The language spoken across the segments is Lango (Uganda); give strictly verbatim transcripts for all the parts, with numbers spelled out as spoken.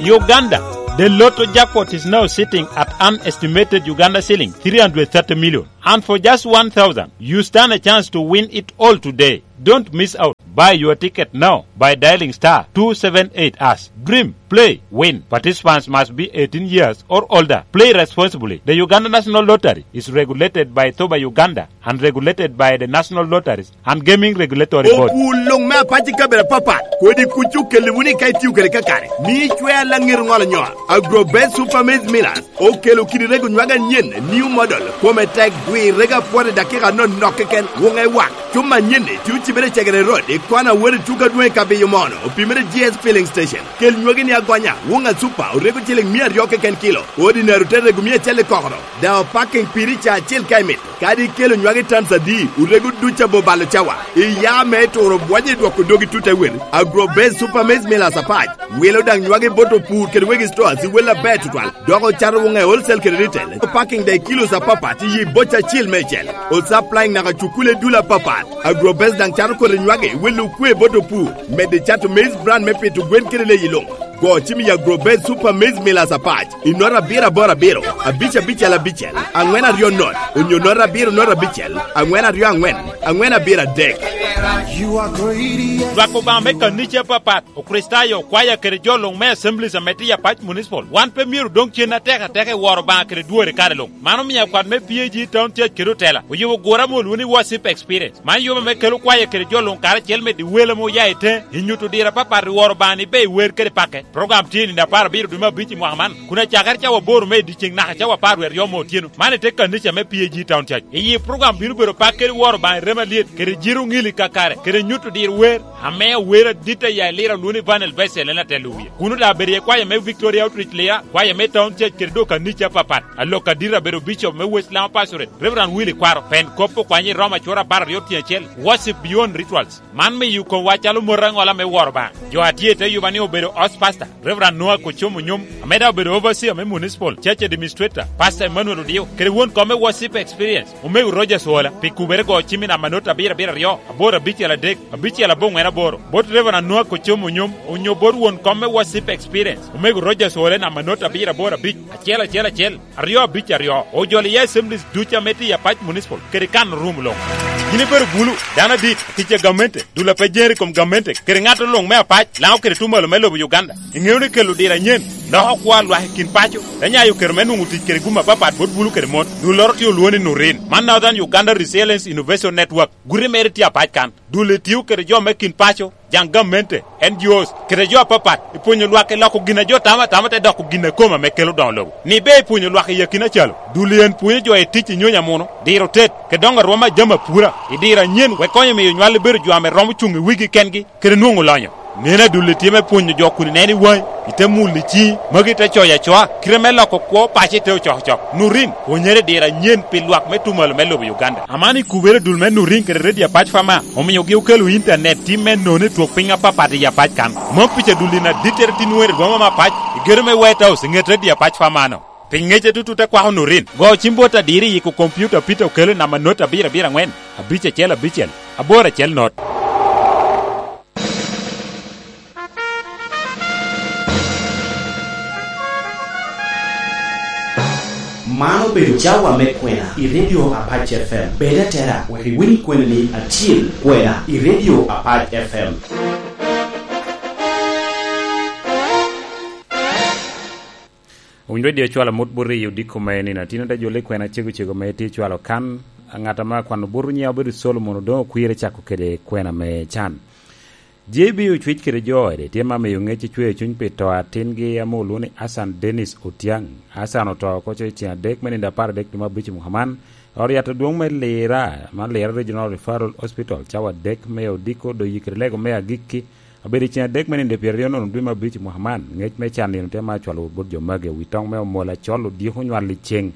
Uganda, the lotto jackpot is now sitting at an estimated Uganda shilling three hundred thirty million. And for just one thousand, you stand a chance to win it all today. Don't miss out. Buy your ticket now by dialing star two seven eight hash. Dream, play, win. Participants must be eighteen years or older. Play responsibly. The Uganda National Lottery is regulated by Thoba Uganda and regulated by the National Lotteries and Gaming Regulatory Board. Opwul luŋ me apac i kabedo apapat, kodi kuc okelli wunu ka itio kede kakare. Mi icwer laŋet oŋolo nyol. Agrobest Super Maize Millers okelo kidi rego nywag anyen, new model, kome tek, dwi rego apwot i dakika anonok keken, wuŋe wak. Cuma anyen-ni tye ocibere i Cegere Road, i kona wot i tuka adwoŋ i Kabiyo Mono, opimere G S Filling Station. Kel nywagi ni agonya, wuŋ a Super, orego ciling mia aryo keken kilo, ordinary te rego mia acel i kokoro. Daŋ opaking piri ca acel ka imito. Kadi ikelo nywagi tans adi, orego duc abo balo cawa. Iya me turo bwonyo i dwoko dogi tut awel. Agrobase Super Maize Millers apac. Wilo daŋ nywagi bot opur kede wegi stores i wel aber tutwal. Dok ocato wuŋe wholesale kede retail. Opaking daŋ i kilos apapat i yi boca acil meicel. Osupplying naka cukule dul apapat. Agrobase daŋ cato kodi nywagi i wel okwe bot opur. Medde cato maize bran me pito gwen kede leyi luŋ. Go cim i Agrobase Super Maize Millers apac. I nota abiro aboro abiro, abic abicel abicel, aŋwen aryo not, onyo nota abiro nota abicel, aŋwen aryo aŋwen, aŋwen abiro adek. Lwak Obaŋa me kanica apapat, Okricitayo, okwaya kede jo luŋ me Assemblies ame tye i Apac Municipal, wan pe myero odoŋ cen atek ateka i woro Obaŋa kede dwore kare luŋ. Man omio akwat me P A G Town Church kede otela oyubo gura ame olwoŋo ni Worship Experience. Man yub ame kelo kwaya kede jo luŋ karacel medo i wel ame oya i teŋe, i nyuto diro apapat i woro Obaŋa ni ber i wer kede pakke. Program tye i nino apar abiro dwe me abic i mwaka man, kun acakere cawa aboro me i dyeceŋ naka cawa apar wie aryo me otyeno. Man i te kanica me P A G Town Church. I yi program bino bedo pak kede woro Obaŋa i remo alyet, kede jiro oŋili kakare, kede nyuto diro wer, ame awer adit aya i Lira olwoŋo ni Vanel Bessel en atelo wie. Kuno daŋ abedo iye kwaya me Victoria Outreach Lira, kwaya me Town Church kede dok kanica apapat. Alok adit abedo Bishop me West Lama Pastorate, Reverend Willy Kwaro, pen kop okwanye i Roma acwora apar aryo tyen acel, Worship Beyond Rituals. Man miyo komwa calo mot aŋola me woro Obaŋa. Jo a tye i te yuba ni obedo Host Pastor, Reverend Noah Kochom Onyom, ame daŋ obedo Overseer me Municipal Church Administrator, Pastor Emmanuel Odio, kede won kom me Worship Experience, Omego Rogers Ola, pi kubere go cim i namba not abiro abiro aryo, aboro abicel adek, abicel aboŋwen aboro, bot Reverend Noah Kochom Onyom, onyo bot won kom me Worship Experience, Omego Rogers Ola, i namba not abiro aboro abic, acel acel acel, aryo abic aryo. Ojolo iye Assemblies ducu ame tye i Apac Municipal, kede kan rum luŋ. Yin ibedo bulu, dano adit, tic a gamente, dul a pe jeri i kom gamente, kede ŋat luŋ me Apac, Laŋo kede Tumalo me lobo Uganda. Iŋeo ni kelo diro anyen, loko kwo a lwak i kin paco, te nyayo kero me nwoŋo tic kede gum apapat bot bulu kede mon. Dulloro tye olwoŋo ni Nurin. Man Northern Uganda Resilience Innovation Network. Guti mere tye Apac kan. Dul-li tio kede jo me kin paco, jaŋ gamente, N G Os, kede jo apapat, i pwonyo lwak i loko gin a jo tamo atama te doko gin a kome ame kelo doŋo lobo. Ni ber i pwonyo lwak i akina calo, dul-li en pwonyo jo i tic i nyonyo amuno, diro tet, kede doŋo arwom a jami apura, i diro anyen, wek konyo miyo nywal i bedo jo ame romo cuŋ i wigi kengi, kede nwoŋo lonyo. Neno adul-li tye me pwonyo jo kun ineno i waŋi, ite mulo i ciŋi, magi te coyo acoa, kite me loko kwo paco ite ocokocok. Nurin, pwonyere i diro anyen pi lwak me Tumalo me lobo Uganda. Aman i kubere dul me Nurin kede Radio Apac Fama, omiogi okelo intanet tim me nono i twok piny apapat i Apac kan. Mom pica dul-li na dittere tin wer i boma me Apac, i gedo me White House, i ŋet Radio Apac Fama-no. Pi ŋec atutut akwako Nurin, go cim bot adiro i yiko kompiuta Peter Okello i namba not abiro abiro aŋwen, abic acel abicel, aboro acel not. Man obedo cawa me kwena i Radio Apac F M. Bed atera wek iwiny kweni-ni acil, kwena i Radio Apac F M. Owiny Radio cwalo amut bot riyo odiko me nino. Tin ate jole kwena cego cego me tye cwalo kan. Ŋat ame akwano bot nyiŋe obedo Solomon Odoŋo Okwir, cako kede kwena me can. J B ocwic kede jo ode, tye ma miyo ŋec icweyo cuny pi to a tingi ame olwoŋo ni Hassan Dennis Otiang. Hassan oto oko coc i ceng adek me nino apar adek dwe me abic i mwaka man. Ot yat adwoŋ me Lira, man Lira Regional Referral Hospital, cawa adek me odiko, doŋ yikere lego me agikki, obedo i ceng adek me nino pyeraryo nono dwe me abic i mwaka man. Ŋec me can nino tye ma acwalo wot bot jo magi, wi toŋ me omol acol odyeko nywal i ceng.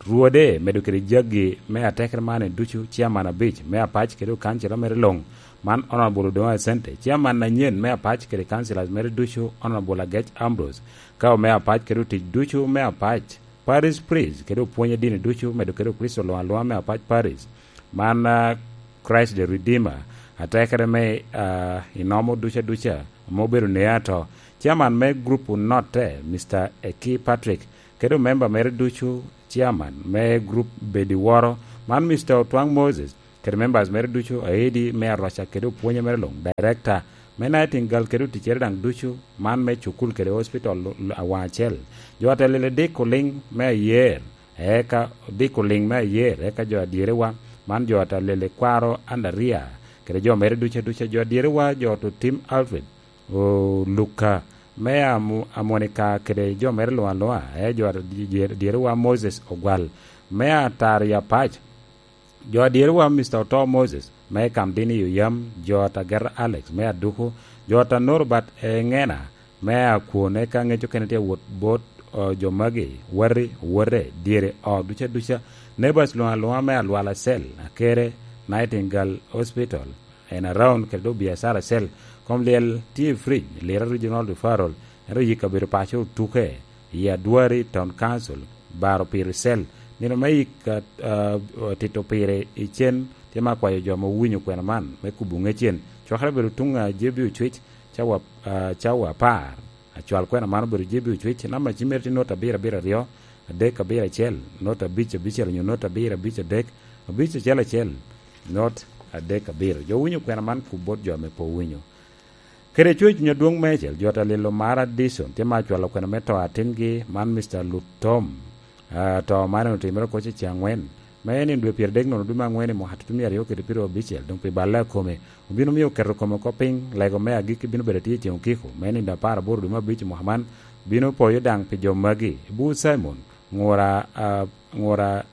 Rwode, medo kede jaggi me atekere man ducu, ciaman abic me Apac kede okancila mere luŋ, man Honorable Odoŋo Asente, ciaman anyen me Apac kede councillors mere ducu, Honorable Agec Ambrose, ka ome Apac kede otic ducu me Apac, Parish Priest kede opwony a dini ducu, medo kede Kricito luŋ aluŋa me Apac Parish, man, ah, Christ the Redeemer, atekere me, ah, inomo duca duca, ame obedo nea ato, Chairman me group Unotte, Mister Eki Patrick, kede omemba mere ducu, Chairman me group Bediworo, man Mister Otwang Moses, kede members mere ducu, aidi me aroca kede opwonye mere luŋ, Director me Nightingale kede oticcere daŋ ducu, man me cukul kede hospital awaŋ acel. Jo ata lele diko liŋ me ayer, eka diko liŋ me ayer, eka jo adyerewa, man jo ata lele kwaro Andaria, kede jo mere ducu aduca, jo adyerewa, jo oto tim Alfred, Luka, me Amu-, Amonika kede jo mere luŋ aluŋa, e jo adyerewa Moses Ogwal, me Atari Apac, jo adyerewa Mister Oto Moses, me Kamdini i Oyam, jo ata Ger Alex, me Aduku, jo ata Norbert Eŋena, me Akwon, eka ŋec okene tye wot bot, o, jo magi, wati, owote, dyere, o, duca duca, neighbors luŋ aluŋa me Alwal Acel, Akere, Nightingale Hospital, en around kede dok biacara acel. Kom lyel tye i Fridge, Lira Regional Referral, en rik yik kabedo paco otuke, i Adwari Town Council, baro pire cell. Nino me yik, a, a, tito pire i cen, tye me akwayo jo ame owinyo kwena man, me kubo ŋecen. Cwakere bedo tuŋ a J B Ocwec, cawa, a, cawa apar. Acwal kwena man obedo J B Ocwec, namba cim mere tye nota abiro abiro aryo, adek abiro acel, nota abic abicel onyo nota abiro abic adek, abic acel acel, not adek abiro. Jo owinyo kwena man kub bot jo ame pe owinyo. Kede coc cuny adwoŋ meicel, jo ata lilo Mara Dison, tye ma acwalo kwena me to atingi, man Mister Lutom. A, to man otimere oko cece aŋwen. Me nino dwe pyeradek nono dwe me aŋwen i mwaka tutumia aryo kede pyeraryo abicel, doŋ pi balle akome, obino mio oketo kome oko piny, lego me agikki bino bedo atye i ceŋ okiko, me nino apar aboro dwe me abic i mwaka man, bino poyo daŋ pi jo magi, Bur Simon, ŋura, a, ŋura,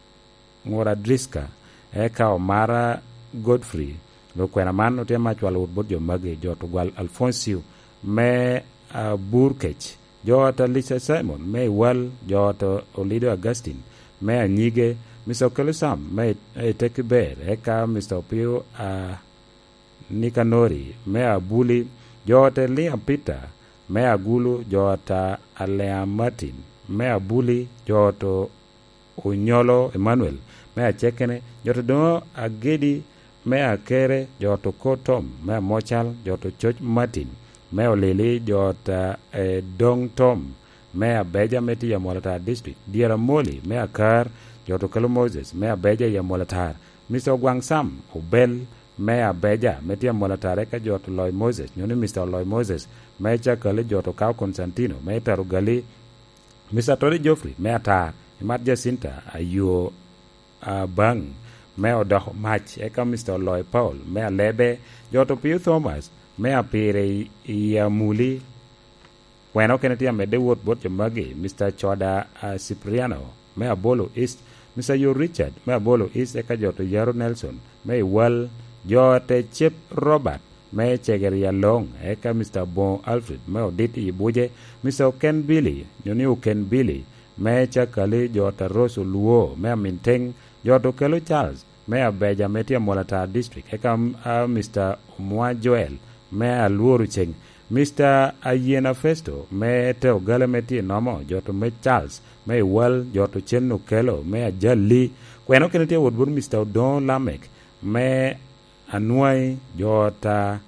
ŋura Driska, eka Omara Godfrey, lukwena man otye ma acwalo wot bot jo magi, jo Tugwal Alfoncio, me, a, Burkec, jo ata Lisa Simon, me Iwal, jo ata Olido Augustine, me Anyige, Mister Okelo Sam, me, e Tekiber, eka Mister Opio, a, Nikanori, me Abuli, jo ata Liam Peter, me Agulu, jo ata Alea Martin, me Abuli, jo ata Onyolo Emmanuel, me Acekene, jo ata Doŋo Agedi, me Akere, jo ata Okor Tom, me Amocal, jo ata Coc Martin, me Olili, jo ata, eh, Doŋ Tom, me Abeja, me tye i Amolatar District, Dyera Moli, me Akar, jo ata Okelo Moses, me Abeja i Amolatar, Mister Ogwaŋ Sam Obel, me Abeja, me tye Amolatar, eka jo ata Oloy Moses, nyo ni Mister Oloy Moses, me Cakali, jo ata Okawo Constantino, me Taro Gali, Mister Tony Geoffrey, me Atar, Imat Jacinta, Ayo, Abaŋ, me Odoko Mac, eka Mister Oloy Paul, me Alebe, jo ata Opio Thomas, me Apire i, i Amuli, kwena okene tye amedde wot bot jo magi, Mister Coda, a, Cipriano, me Abolo East, Mister Yo Richard, me Abolo East, eka jo ata Yaro Nelson, me Iwal, jo ata Cep Robert, me Cegeri Aloŋ, eka Mister Aboŋo Alfred, me Odit i Buje, Mister Oken Billy, nyo ni Oken Billy, me Cakali, jo ata Rose Olwo, me Aminteng, jo ata Okelo Charles, me Abeja, me tye Amolatar District, eka, a, Mister Omwa Joel, me Alworo Ceng, Mister Ayena Festo, me Teogale, me tye Nomo, jo ata Omec Charles, me Iwal, jo ata Ocen Okelo, me Ajali, kwena okene tye wot bot Mister Odoŋo Lamek, me Anwai, jo ata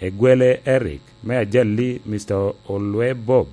Egwele Eric, me Ajali, Mister Olwe Bob,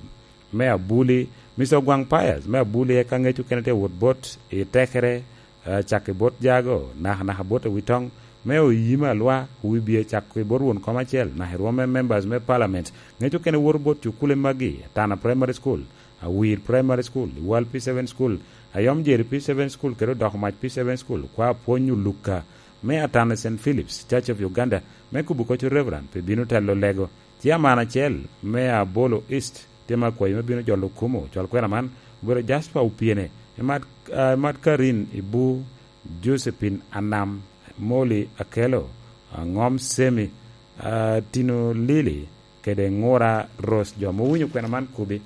me Abuli, Mister Ogwaŋ Pius, me Abuli, eka ŋec okene tye wot bot i Tekere, eh, cak i bot Jago, naka naka bot Awitoŋ, me Oyima Alwa, Wibye cak i bot won kom acel, naka i rwom me members me parliament, ŋec okene woto bot cukule magi, Tana Primary School, Awir Primary School, Iwal P seven School, Ayom Jeri P seven School, kede Odoko Mac P seven School, kwa Apwony Oluka, me Atana Saint Philip's Church of Uganda, me kubo koco Reverend, pi bino telo lego. Chairman acel me Abolo East, tye ma akwayo me bino jolo kumo, cwal kwena man, obedo Jasper Opiene, Emat, ah, Emat Karin Ibu, Josephine Anam, Molly Akelo, ah, Ngom Semi, ah, Tino Lili, kede Ŋura Rose, jo ame owinyo kwena man kubi,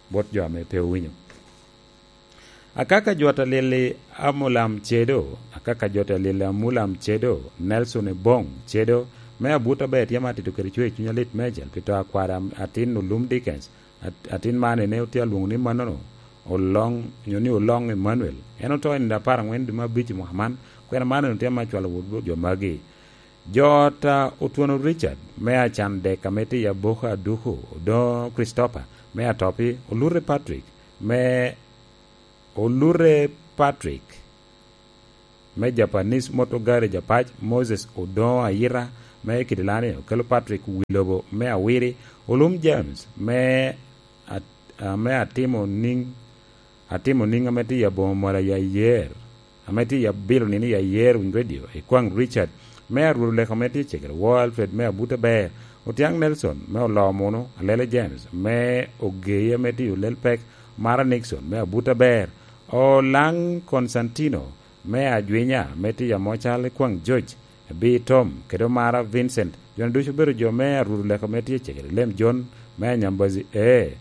bot jo ame pe owinyo. Akaka jo ata lili Amulam Cedo, akaka jo ata lili Amulam Cedo, Nelson Ebong Cedo, me abut aber tye ma atito kede cwer cuny alit meicel pi to akwada atin Olum Dickens, at-, atin man ene otye alwoŋo ni mannono, Oloŋ, nyo ni Oloŋ Emmanuel. En oto i nino apar aŋwen dwe me abic i mwaka man, kwena man ene tye ma acwalo wot jo magi. Jo ot a Otwono Richard me Acandek ame tye i Aboka Aduku, Odoŋo Christopher me Atopi, Olute Patrick me, Olute Patrick me Japanese Motor Garage Apac, Moses Odoŋo Ayita me Kidilani, Okello Patrick Wilobo me Awiri, Olum James me At-, ame atimo niŋ, atimo niŋ ame tye i aboŋo mola i ayer, ame tye i abilo nino i ayer Winy Radio, Ikwaŋ Richard, me Arwot Oleko ame tye i Cegere, Woo Alfred me Abuta Ber, Otiaŋ Nelson me Oloo Munu, Alele James me Ogei ame tye i Olel Pek, Mara Nixon me Abuta Ber, Olaŋ Constantino me Ajwinya ame tye i Amocal, Ikwaŋ George, Bi Tom, kede Omara Vincent. Joni ducu obedo jo me Arwot Oleko ame tye i Cegere, Lem Jon me Anyambazi, ee,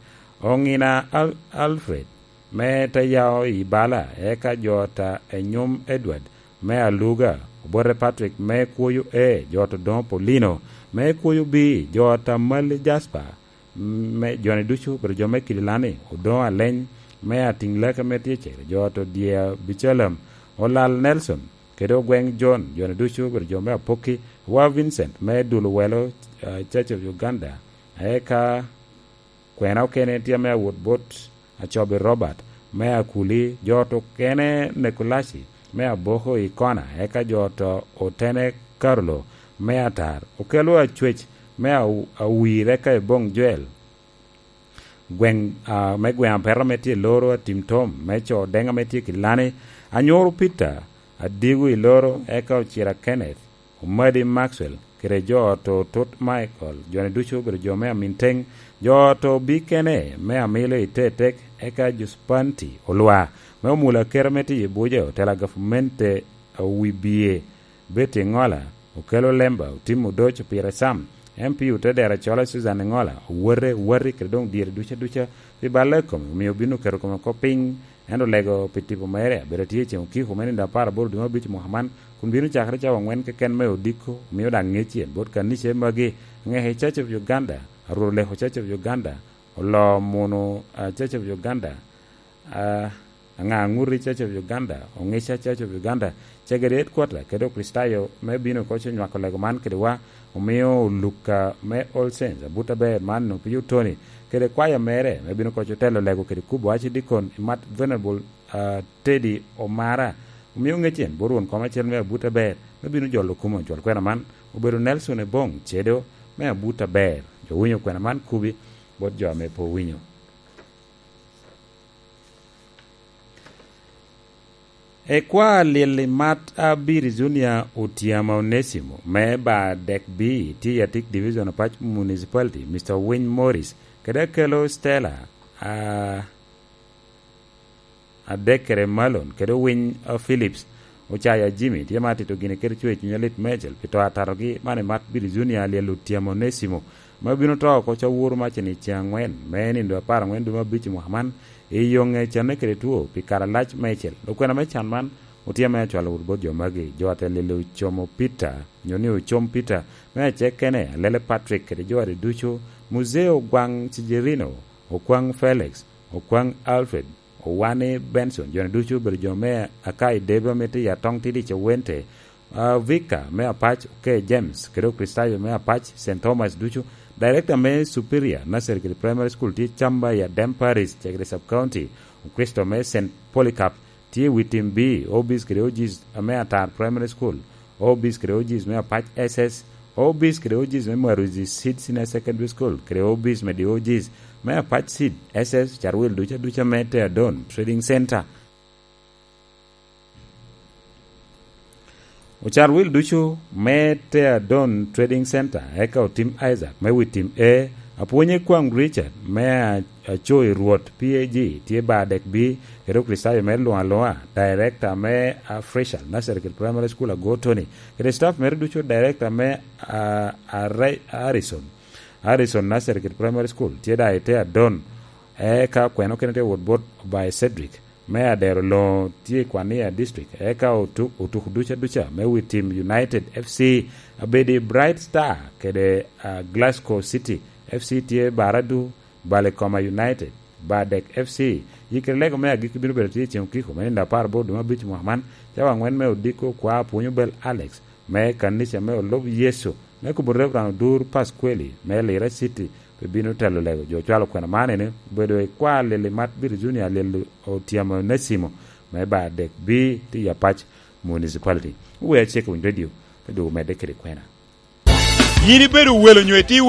Oŋina Al-, Alfred me Tayao i Bala, eka jo ot a Enyum Edward me Aluga, Obote Patrick me Kwoyo, ee, jo ot Odoŋo Paulino me Kwoyo, bi jo ot a Mali Jasper, me, joni ducu obedo jo me Kidilani, Odoŋo Aleny me Atiŋlaki ame tye i Cegere, jo ot Odya Bicalam, Olal Nelson, kede Ogweŋ John, joni ducu obedo jo me Apokki, Wa Vincent me Dul Owelo, ah, Church of Uganda, eka kwena okene tye ame awot bot Acobi Robert me Akuli, jo ot okene Nekulaci me Aboko i Kona, eka jo ot Otene Carolo me Atar, Okello Acwec me Aw-, Awir, eka Eboŋ Joel, gweŋ, ah, me gweŋ Apeto ame tye i Loro, Atim Tom me Co Odeŋ ame tye i Kilani, Anyoro Peter Adigo i Loro, eka Ocira Kenneth, Omadi Maxwell, kede jo ot Otut Michael, joni ducu obedo jo me Aminteŋ, jo ot Obikene me Amilo i Tetek, eka Juspanti Olwa me Omula Kere ame tye i Abuja, otela gavumenti Awibie, Betty Ŋola, Okello Lemba, Otim Odoco, Pire Sam, M P Otedero Acola, Susan Ŋola, Owote, Owati, kede doŋ dyere duca duca pi balle kome, omio obin oketo kome oko piny, ento olego pi tipo mere, abedo tye i ceŋ okiko me nino apar aboro dwe me abic mwaka man, kun bino cakere cawa aŋwen keken me odiko, omio daŋ ŋeccen bot kanica magi, aŋeke Church of Uganda, Arwot Oleko Church of Uganda, Oloo Munu, ah, Church of Uganda, ah, Aŋaŋuti Church of Uganda, Oŋica Church of Uganda, Cegere Headquarter, kede Okricitayo me bino oko co nywako lego man kede wa, omio Luka me All Saints, abut aber man Opio Tony, kede kwaya mere me bino oko co telo lego kede kubo Archdeacon Imat Venerable, ah, Teddy Omara, omio ŋeccen bot won kom acel me abut aber me bino jolo kumo jol kwena man, obedo Nelson Ebong Cedo me abut aber. Jo winyo kwena man kubi bot jo ame pe owinyo. Ekwa lyel i mat Abiri Junior Otyama Onesimo me ba dek B, tye i Atik Division, Apac Municipality, Mister Winy Morris, kede Akello Stella, a, Adekere Malon, kede Winy, a, Phillips, Ocaya Jimmy, tye ma atito gini kede cwer cuny alit meicel pi to atatogi man i mat Bili Junior Alyel Otyama Onesimo, ma bino to oko cawuru macen i ceŋ aŋwen me nindo apar aŋwen dwe me abic i mwaka man, i yo ŋe canne kede two pi kare alac meicel. Okwena me can man otye ame acwalo wot bot jo magi, jo ate lilo Ocomo Peter, nyo ni Ocom Peter, me acek kene, Alele Patrick kede jo ade ducu, Muzee Ogwaŋ Cijerino, Okwaŋ Felix, Okwaŋ Alfred, Owani Benson, joni ducu obedo jo me Akai Debe ame tye i Atong Tidi Cewente, ah, Vika me Apac, Oke James, kede Okricitayo me Apac, Saint Thomas ducu, Director me Superior Nursery kede Primary School tye Camba i Adem Parish, Cegere Sub County, Okristo me Saint Polycarp, tye i wi tim B, O Bs kede O Gs me Atar Primary School, O Bs kede O Gs me Apac S S, O Bs kede O Gs me Maruzi Seed Senior Secondary School, kede O Bs me di O Gs me Apac Seed S S, ocar wil duca duca me Teadon Trading Center. Ocar wil ducu me Teadon Trading Center, eka otim Isaac me wi tim A, apwonye kwaŋ Richard me a-, aco i Rwot P A G, tye ba dek B, kede Okricitayo mere luŋ aluŋa, Director me Afrishal Nursery kede Primary School Ago Tony, kede staff mere ducu, Director me, ah, Arre-, Harrison, Harrison Nursery kede Primary School, tye da i Teadon, eka kweno kene tye wot bot Obaye Cedric, me Adero Loŋo tye i Kwania District, eka otu-, otuko duca duca me wi tim United F C, abedi Bright Star kede, ah, Glasgow City F C tye Baradu, Balekoma United, Badek F C. Yikere lego me agikki bino bedo tye i ceŋ okiko me nino apar aboro dwe me abic mwaka man, cawa aŋwen me odiko kwa Apwonyo Bel Alex, me kanica me olub Yecu me kubo Reverend Odur Pasqueli me Lira City pe bino telo lego. Jo cwalo kwena man ene obedo i kwar lili mat Virginia, lili otyemo Nasimo me bar dek B ti Apac Municipality. Wer cek winy radio, te dwogo medde kede kwena. Yin ibedo welo nyo itye